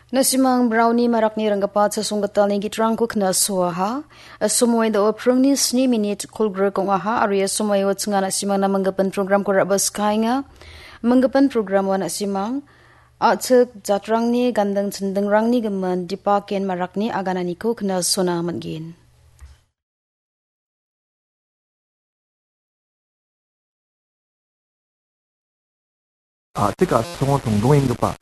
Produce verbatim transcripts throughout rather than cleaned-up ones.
Na·simang brauni marakni ranggipa chasonggitalni gitrangko knasoaha. Asomoi do·o pringni sni minit kolgrik ong·aha, aro ia somoio chinga na·simangna manggipan programko ra·baskaenga. Manggipan programo na·simang a·chik jatrangni ganding chindingrangni gimin Dipaken marakni agananiko knasona man·gen. A·chik a·songo tongdongenggipa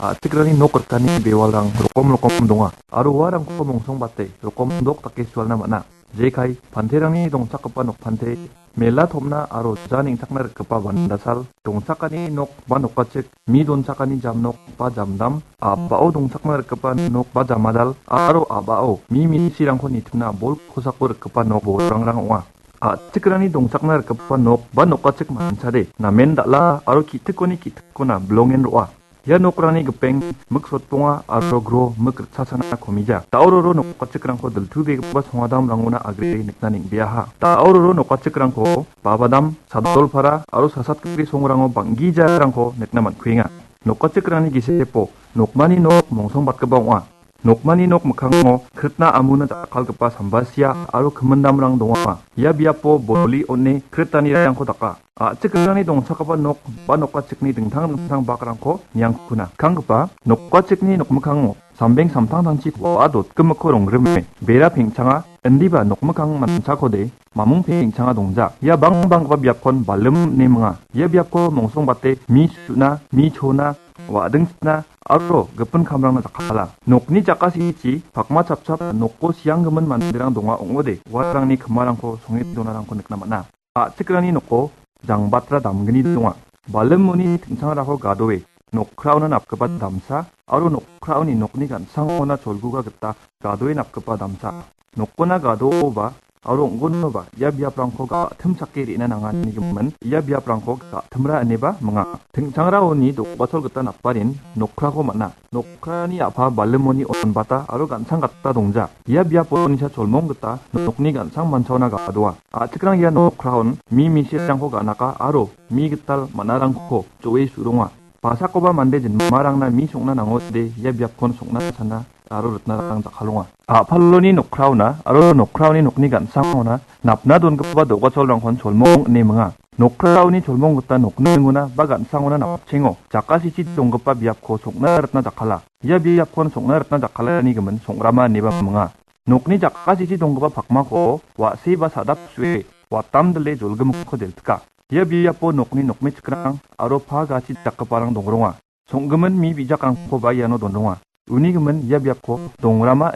a·chikrangni nok rikani bewalrang rokom rokom donga, aro uarangko mongsongbate rokom dok dake sualna man·a. Jekai, panterangni dongchakgipa nokpante, mela tom·na aro ja neng·takna rikgipa bandasal, dongchakani nok ba nokachik, mi donchakani jamnok ba jamdam, a·bao dongchakna rikgipa nok ba jamadal, aro a·bao mi minisirangko nitimna bol kosako rikgipa nok bolrangrang ong·a. A·chikrangni dongchakna rikgipa nok ba nokachik manchade namen dal·a aro ki·tikoni ki·tikkona bilongen ro·a. Ia nokrangni gipeng mik sotponga aro gro mik ritchasana komija. Da·o roro nokachikrangko diltubegipa songadamrangona agre nikna neng·beaha. Da·o roro nokachikrangko Babadam, Sadolpara aro Sasatgipri songrango bang·gijarangko nikna man·kuenga. Nokachikrangni gisepo nokmani nok mongsongbatgipa ong·a. Nokmani nok mikkango kritna amuna jakkalgipa sambasia aro kimindamrang donga. Ia biapo boli on·e kritanirangko daka. A·chikrangni dongchakgipa nok ba nokachikni dingtang dingtang bakrangko niangkukuna. Kanggipa nokachikni nokmikkango sambeng samtangtangchi wa·a dotgimikko rongrime bera pengchanga indiba nokmikkang manchakode mamung pengchanga dongja. Ia bang banggipa biapkon balim ine minga. Ia biapko mongsongbate mi su·na, mi chona, wa·dingchina aro gipin kamrangna jakkala. Nokni jakasichi pakma chapchap nokko sianggimin manderang donga ong·ode, uarangni kimarangko songe donarangko nikna man·a. A·chikrangni noko jangbatra damgni donga. Balimoni tingchangrako gadoe nokraona napgipa damsa aro nokraoni nokni gan·sangona cholguga gita gadoe napgipa damsa. Nokona gadooba aro ong·gonoba ia biaprangko ga·timchake re·na nanganigimin ia biaprangko ga·timra ineba minga. Tingchangraoni do·gachol gita naparin nokrako man·a. Nokrani a·pa balimoni onbata aro gan·sang gata dongja. Ia biapo onisa cholmong gita nokni gan·sang manchaona ga·doa. A·chikrang ia nokraon mi misirangko ga·naka aro mi gital man·arangko jo·e su·ronga. Basakoba mande jinmarangna mi song·na nangode ia biapkon song·na sana aro ritnarang jakkalonga. A·paloni nokraona aro nokraoni nokni gan·sangona napna dongipa do·gacholrangkon cholmong ine minga. Nokraoni cholmong gita nokningona ba gan·sangona napchengo jakasichi donggipa biapko song·na ritna jakkala. Ia biapkon song·na ritna jakkalani gimin song·rama ineba minga. Nokni jakasichi donggipa pakmako wa·se ba sadap su·e watamdile jolgimikko deltika. Ia biapo nokni nokmechikrang aro pa gachi dakgiparang dongronga. Song·gimin mi bijakrangkoba iano donronga. Uni gimin ia biapko dongrama